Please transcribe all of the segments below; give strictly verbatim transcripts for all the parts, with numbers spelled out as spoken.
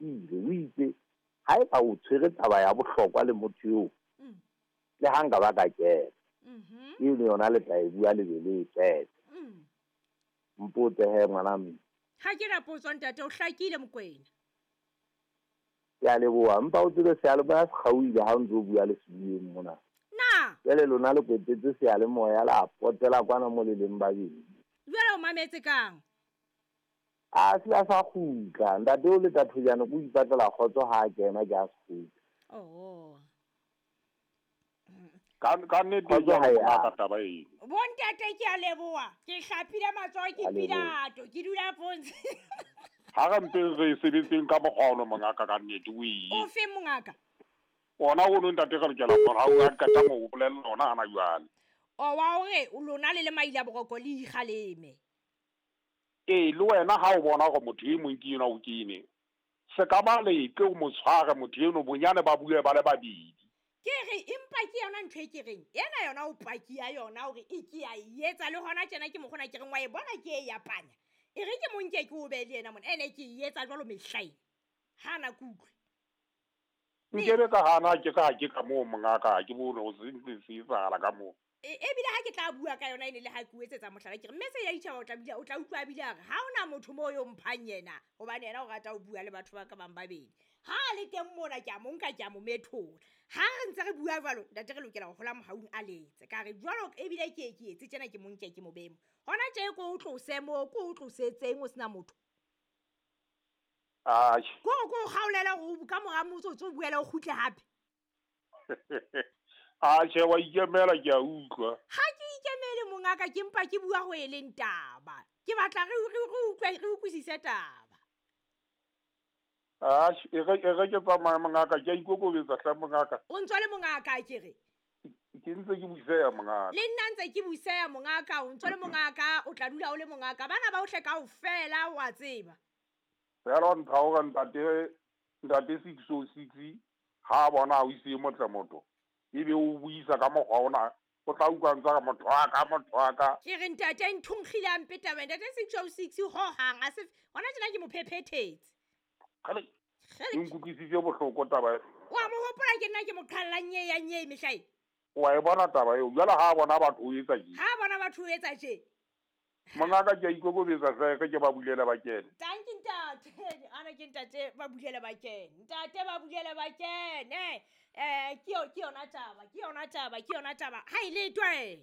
hlakile o itse ha eba o tshwere taba ya bohlokwa le motho eo Mm. le ha nka ba ka kena Mhm. eno yona le tla e bua le be le e qete Mm. mpotse he ngwana mme Ha ke na potso ntate o hlakile Mokwena. Ke a leboha mpa o tsebe seyalemoya se kgaohile ha o ntso o bua le sebueng mona Na jwale lona le kwetetse seyalemoya la potela kwana mo le leng babedi jwale o mametse kang? A se a sa kgutla ntate o le tathojane ko ipatlela kgotso ha a kena ke a se kgutla Oh. Ka ka nnete Kgotso ha jwale e mongaka a. taba eno. Bo ntate ke a leboha. Ke hlapile matsoho ke A leboha. Pilato, ke dula pontshe. Ha re mpe re e sebetseng ka mokgwa ono mongaka ka nnete o O e. feng mongaka? Ona ono ntate re lokela hore ha o a qeta mo o bolella ona hana jwale. O wa hore o lona le le maila boroko le ikgaleme. Ee, le wena ha o bona hore motho e mong ke enwa o kene. Se ka ba leke o mo tshware motho eno bonyane ba bue ba le babedi. Ke re empa ke yona ntho e ke reng ena yona o paki ya yona hore e ke ya e etsa le hona tjena ke mokgona ke reng wa e bona ke e yapanya. E re ke monke ke o be le yena mona ene ke e etsa jwalo mehlaeng. Ha na ke utlwe. Nkebe ka hana ke ka ha ke ka moo mongaka ha ke bone ho se ntse se etsahala ka moo. E ebile ha ke tla bua ka yona ene le ha ke o etsetsa mohlala ke re mme se ya ditjhaba o tla bile o tla utlwa a bile a re ha hona motho moo yo mphang yena hobane yena o rata ho bua le batho ba ka bang babedi. Ha a le teng mona ke a mo nka ke a mo methola. Ha re ntse re bua jwalo ntate re lokela ho hola mohaung a letse. Ka re jwalo ebile ke e ke etse tjena ke mo nke ke mo behe mo. Hona tje ko o tlose moo ko o tlosetseng o sena motho. Atjhe. Ko ko o kgaolela hore o ka mora motsotso o buele o kgutle hape. Atjhe wa ikemela ke a utlwa. Ha ke ikemele mongaka ke mpa ke bua ho e leng taba. Ke batla re re re utlwe re utlwisise taba. Atjhe e re e re ke tsamaye mongaka ke a ikokobetsa hle mongaka. O ntso le mongaka ke re. Ke ntse ke buseya mongaka. Le nna ntse ke buseya mongaka o ntso le mongaka o tla dula o le mongaka bana ba ohle kaofela wa tseba. Fela o ntha hore ntate ntate six oh six ha bona o ise motle motho. Ebe o buisa ka mokgwa ona o tla utlwa ntse ka motho wa ka motho wa ka. Ke re ntate nthonkgile a mpe taba ntate six oh six ho hang a se hona tjena ke mo phephethetse. Kgale Kgele. e nkutlwisitse bohloko taba e. Wa mo hopola ke nna ke mo qhallang nye ya nye mehlae. Wa e bona taba eo jwale ha bona batho o etsa tje. Ha bona batho o etsa tje. Mongaka ke a ikokobetsa hle ke ba bulele ba kene. Tanki ntate, ana ke ntate ba bulele ba kene. Ntate ba bulele ba kene. Eh ke yo ke yona taba, ke yona taba, ke yona taba. Ha e le twe.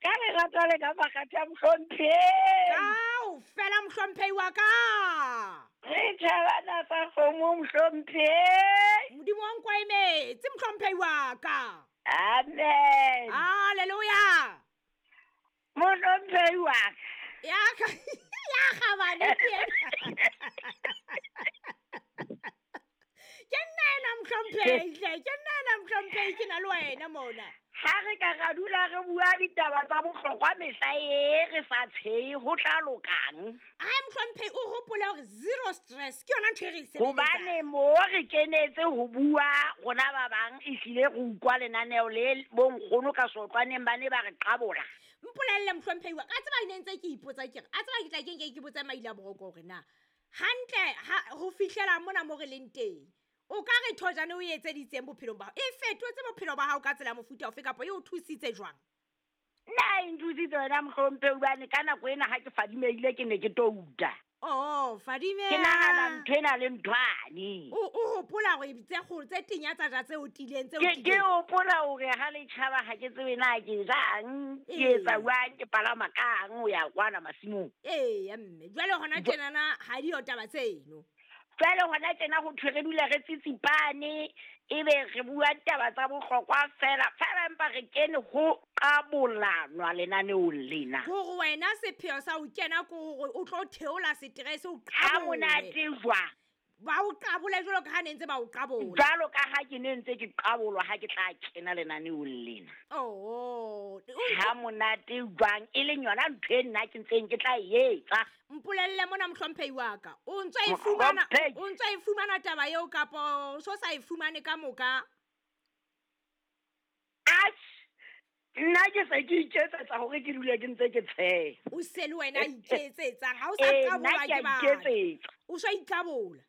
Ka lerato le ka makgatha a mohlomphehi. Kaofela mohlomphehi wa ka. Re tjhabana sa kgomo mohlomphehi. Modimo wa nkwa emetse mohlomphehi wa ka. Amen. Hallelujah. Mohlomphehi wa ka. Ya ka ya kgabane ke yena. Ke nna ena mohlomphehi hle, ke nna ena mohlomphehi ke na le wena mona. Ha re ka ra dula re bua ditaba tsa bohlokwa mehla e re sa tshehe ho tla lokang. Ai mohlomphehi o hopole hore zero stress ke yona ntho e re e sebeletsang. Hobane mo re kenetse ho bua rona ba bang ehlile re utlwa lenaneo le bonkgono ka sotlwaneng ba ne ba re qabola. Mpolelle mohlomphehi wa ka tseba ne ntse ke ipotsa ke re a tseba ke tla ke nke ke botse maile a boroko hore na hantle ha ho fihlela mona mo re leng teng o ka re thojane o etseditseng bophelong ba hao e fetotse bophelo ba hao ka tsela ya mofuta ofe kapa e o thusitse jwang? Nna e nthusitse wena mohlomphehi hobane ka nako ena ha ke fadimehile ke ne ke touta. Oh, fadimeha. Ke nahana ntho ena le nthwane. O, o hopola hore tse kgolo tse tenya tsa ja tse otileng tse Ke, ke otileng. hopola hore ha le tjhaba ha ke tsebe na ke jang, ke Ee. etsa jwang, ke palama kang ho ya kwana masimong. Eya mme, jwale hona tjenana ha di yo taba tseno. Jwale hona tjena ho thwe re dula re tsitsipane, ebe re bua ditaba tsa bohlokwa fela, fela empa re kene ho qabolanwa lenaneong lena. Hore wena sepheo sa ho kena ke hore o tlo theola stress o Ha qabole. monate jwang? Ba o qabole jwalo ka ha ne ntse ba o qabola. Jwalo ka ha ke ne ntse ke qabolwa ha ke tla kena lenaneong lena. Oh, Ha monate jwang e leng yona ntho e nna ke ntseng ke tla e etsa. Mpolelle mona mohlomphehi wa ka. O ntso e fumana, Mohlomphehi. o ntso e fumana taba eo kapa o so sa e fumane ka moka? Atjhe, nna ke se ke iketsetsa hore ke dule ke ntse ke tsheha. O se le wena iketsetsang, ha o sa Ee, nna qabolwa ke a ke batho. iketsetsa. O so iqabola.